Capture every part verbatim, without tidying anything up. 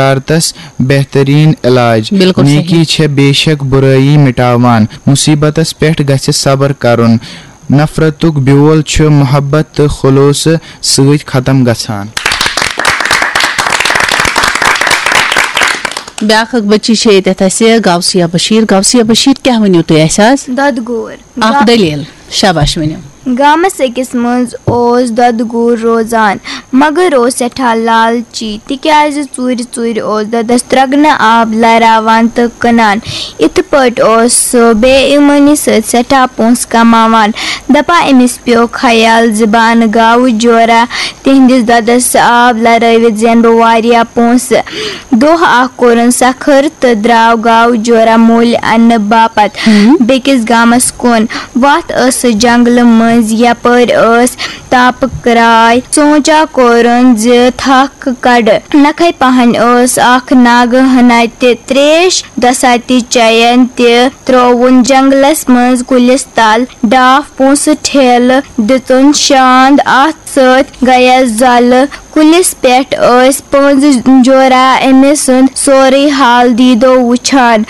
شرارتس بہترین علاج۔ بالکل صحیح۔ نیکی چھےٚ بے شک برٲیی مٹاوان۔ مصیبتس پٮ۪ٹھ گژھِ صبر کرُن۔ نفرتُک بیول چھُ محبت تہٕ خلوصہٕ سۭتۍ ختم گژھان۔ بیاکھ اکھ بچی چھےٚ ییٚتٮ۪تھ اَسہِ، غوثیہ بشیر۔ غوثیہ بشیر، کیٛاہ ؤنِو تُہۍ اَسہِ آز؟ دۄدٕ گوٗر۔ اکھ گا- دٔلیٖل۔ شاباش، ؤنِو۔ گامس أکِس منٛز اوس دۄدٕ گوٗر روزان، مگر اوس سٮ۪ٹھاہ لالچی، تِکیازِ ژوٗرِ ژوٗرِ اوس دۄدس ترٛگنہٕ آب لراوان تہٕ کٕنان۔ یِتھٕ پٲٹھۍ اوس سُہ بے ایمٲنی سۭتۍ سٮ۪ٹھاہ پونٛسہٕ کماوان۔ دپان أمِس پیوٚو خیال زِ بہٕ انہٕ گاوٕ جورا، تِہنٛدِس دۄدس آب لرٲوِتھ زینہٕ بہٕ واریاہ پونٛسہٕ۔ دۄہ اکھ کوٚرُن سکھر تہٕ درٛاو گاوٕ جورا مٔلۍ اننہٕ باپتھ بیٚکِس گامس کُن۔ وتھ ٲسٕس جنگلہٕ مٔنٛزۍ، یپٲرۍ ٲس تاپہٕ کرٛاے۔ سونٛچا کوٚرُن زِ تھکھ کڑٕ۔ نکھے پہن ٲس اکھ ناگہٕ ہنا تہِ تریش دۄسا تہِ چیَن تہِ ترٛووُن جنگلس منٛز کُلِس تل۔ ڈاپھ پونٛسہٕ ٹھیلہٕ دِژُن شاند، اتھ سۭتۍ گٔیَس زۄلہٕ۔ کُلِس پٮ۪ٹھ ٲسۍ پٔنٛزۍ جورا أمۍ سُنٛد سورُے حال دیٖدو وُچھان۔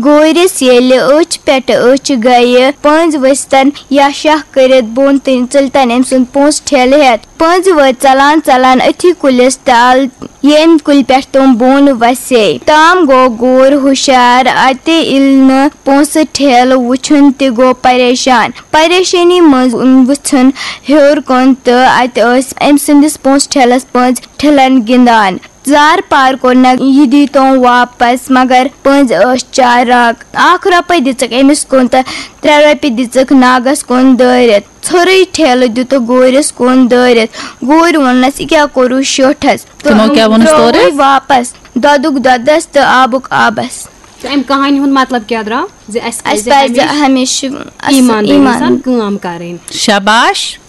گورِس ییٚلہِ أچھ پٮ۪ٹھ أچھ گٔیہِ، پٔنٛزۍ ؤسۍتن یا شاہ کٔرِتھ بۄن تہٕ ژٔلۍتن أمۍ سُنٛد پونٛسہٕ ٹھیلہٕ ہٮ۪تھ۔ پٔنٛزۍ وٲتۍ ژلان ژلان أتھی کُلِس تل، ییٚمہِ کُلہِ پٮ۪ٹھ تِم بۄن وسے۔ تام گوٚو گور ہُشار، اتہِ ییٚلہِ نہٕ پونٛسہٕ ٹھیلہٕ وُچھُن تہِ گوٚو پریشان۔ پریشٲنی منٛز وُژھُن ہیوٚر کُن تہٕ اتہِ ٲسۍ أمۍ سٕنٛدِس پونٛسہٕ ٹھیلس پٔنٛزۍ ٹھِلن گِنٛدان۔ زار پار کوٚرنکھ یہِ دیٖتون واپس، مگر پٔنٛزۍ ٲسۍ چالاک۔ اکھ رۄپے دِژٕکھ أمِس کُن تہٕ ترٛےٚ رۄپیہِ دِژٕکھ ناگس کُن دٲرِتھ۔ ژھوٚرُے ٹھیلہٕ دِتُکھ گورِس کُن دٲرِتھ۔ گورۍ ووٚننس، "یہِ کیٛاہ کوٚروٕ شیوٹھس؟" تِمو کیٛاہ ووٚنُس تورٕ؟ ترٛووُے واپس۔ دۄدُک دۄدس تہٕ آبُک آبس۔ تہٕ امہِ کہانی ہُنٛد مطلب کیٛاہ درٛاو؟ زِ اسہِ اَسہِ پزِ پزِ ہمیشہِ ہمیشہِ اصل ایٖماندٲری ایٖمان۔ سان کٲم کرٕنۍ۔ شاباش۔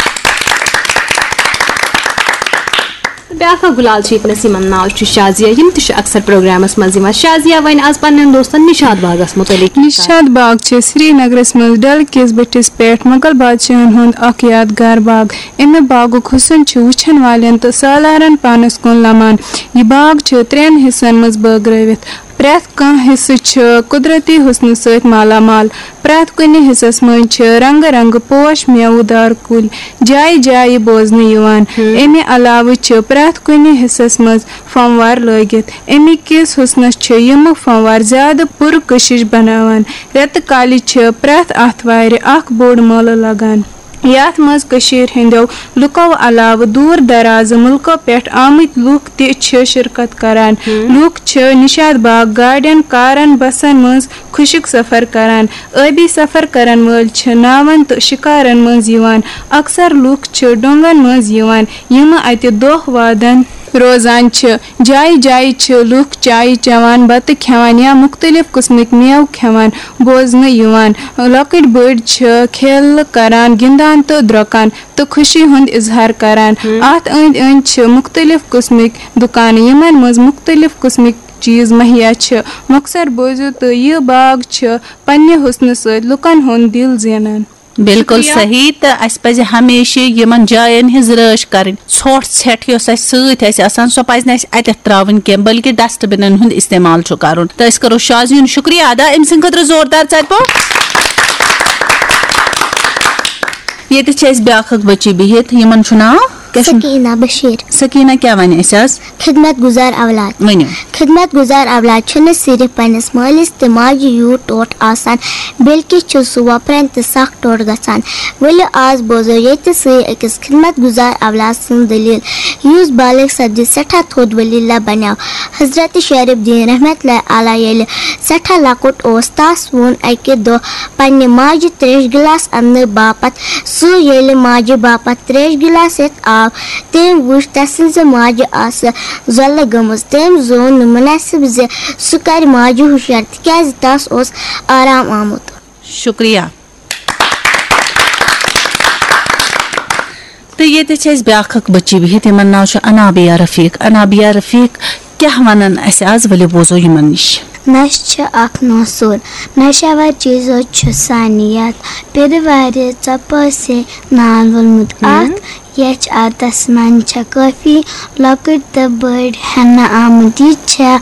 بیاکھ اکھ گُلال چھِ ییٚتہِ نَس، یِمن ناو چھُ شازیہ، یِم تہِ چھِ اکثر پروگرامس منٛز یِوان۔ شازیہ وَنہِ آز پننٮ۪ن دوستن نشاط باغس مُتعلق کینٛہہ کتھ۔ نشاط باغ چھِ سرینگرس منٛز ڈل کِس بٔٹھِس پٮ۪ٹھ مغل بادشاہن ہُنٛد اکھ یادگار باغ۔ امہِ باغُک حُسن چھُ وٕچھن والٮ۪ن تہٕ سالارن پانس کُن لمان۔ یہِ باغ چھُ ترٛٮ۪ن حصن منٛز بٲگرٲوِتھ۔ پرٛٮ۪تھ کانٛہہ حصہٕ چھُ قۄدرتی حُسنہٕ سۭتۍ مالا مال۔ پرٛٮ۪تھ کُنہِ حصس منٛز چھِ رنٛگہٕ رنٛگہٕ پوش، میوٕ دار کُلۍ، جایہِ جایہِ بوزنہٕ یِوان۔ ہم۔ اَمہِ علاوٕ چھِ پرٛٮ۪تھ کُنہِ حصس منٛز فنوار لٲگِتھ۔ اَمہِ کِس حُسنس چھِ یِمہٕ فنوار زیادٕ پُرکشش بناوان۔ رٮ۪تہٕ کالہِ چھِ پرٛٮ۪تھ آتھوارِ اکھ بوٚڑ مٲلہٕ لگان، یتھ منٛز کٔشیٖر ہٕنٛدیو لُکو علاوٕ دوٗر دراز مُلکو پٮ۪ٹھ آمٕتۍ لُکھ تہِ چھِ شرکت کران۔ ہم۔ لُکھ چھِ نشاط باغ گاڑٮ۪ن، کارن، بسن منٛز خۄشک سفر کران۔ ٲبی سفر کرن وٲلۍ چھِ ناون تہٕ شکارن منٛز یِوان۔ اکثر لُکھ چھِ ڈونگن منٛز یِوان، یِم اتہِ دۄہ وادن روزان چھِ۔ جایہِ جایہِ چھِ لُکھ چایہِ چٮ۪وان، بتہٕ کھٮ۪وان یا مُختٔلِف قٕسمٕکۍ مٮ۪وٕ کھٮ۪وان بوزنہٕ یِوان۔ لۄکٕٹۍ بٔڑۍ چھِ کھیلہٕ کران، گِنٛدان تہٕ درٛۄکان تہٕ خوشی ہُنٛد اظہار کران۔ ہم۔ اتھ أنٛدۍ أنٛدۍ چھِ مُختٔلِف قٕسمٕکۍ دُکانہٕ، یِمن منٛز مُختٔلِف قٕسمٕکۍ چیٖز مہیا چھِ۔ مۄخصر بوٗزِو تہٕ یہِ باغ چھِ پننہِ حُسنہٕ سۭتۍ لُکن ہُنٛد دِل زینان۔ بالکل شُکریہ۔ صحیح، تہٕ اَسہِ پَزِ ہمیشہِ یِمَن جایَن ہٕنٛز رٲچھ کَرٕنۍ۔ ژھۄٹھ ژھٮ۪ٹھ یۄس اَسہِ سۭتۍ آسہِ آسان، سۄ پَزِ نہٕ اَسہِ اَتٮ۪تھ ترٛاوٕنۍ کینٛہہ، بلکہِ ڈسٹبِنَن ہُنٛد استعمال چھُ کَرُن۔ تہٕ أسۍ کَرو شازیُن شُکریہ ادا أمۍ سٕنٛدِ خٲطرٕ زوردار ژَپہِ۔ ییٚتہِ چھِ اَسہِ بیٛاکھ اَکھ بٔچی بِہِتھ، یِمَن چھُ ناو کیٛاہ چھُ؟ سکینہ بشیر۔ سکینہ کیٛاہ وَنہِ اَسہِ آز؟ خدمت گزار اولاد۔ ؤنِو۔ خدمت گزار اولاد چھُنہٕ صرف پننِس مٲلِس تہٕ ماجہِ یوٗت ٹوٹھ آسان، بلکہِ چھُ سُہ وۄپرن تہِ سخ ٹوٹھ گژھان۔ ؤلِو آز بوزو ییٚتہِ سٕے أکِس خدمت گزار اولاد سٕنٛز دٔلیٖل، یُس بالغ سپدِتھ سٮ۪ٹھاہ تھوٚد ولی اللہ بنیو۔ حضرت شعیب الدین رحمت اللہ علیہ ییٚلہِ سٮ۪ٹھاہ لۄکُٹ اوس، تس ووٚن اکہِ دۄہ پننہِ ماجہِ تریش گلاس اننہٕ باپتھ۔ سُہ ییٚلہِ ماجہِ باپتھ تریش گلاس ہٮ۪تھ آو، تٔمۍ وُچھ تسٕنزِ ماجہِ آسہٕ زۄلہٕ گٔمٕژ۔ تٔمۍ زون نہٕ مُنٲسِب زِ سُہ کرِ ماجہِ ہُشیار، تِکیازِ تس اوس آرام آمُت۔ شُکریہ۔ تہٕ ییٚتہِ چھِ اَسہِ بیٛاکھ اَکھ بٔچی بِہِتھ، یِمَن ناو چھُ انابیہ رفیق۔ انابیہ رفیق کیٛاہ وَنَن اَسہِ آز؟ ؤلِو بوزو یِمَن نِش۔ نشہٕ چھُ اکھ ناسور۔ نشہٕ آور چیزو چھُ سانہِ یتھ پیدٕوارِ ژۄپٲرۍ سے ناو وولمُت۔ اکھ یچھ آتس منٛز چھےٚ کٲفی لۄکٕٹۍ تہٕ بٔڑۍ ہٮ۪نہٕ آمٕتۍ۔ یہِ چھےٚ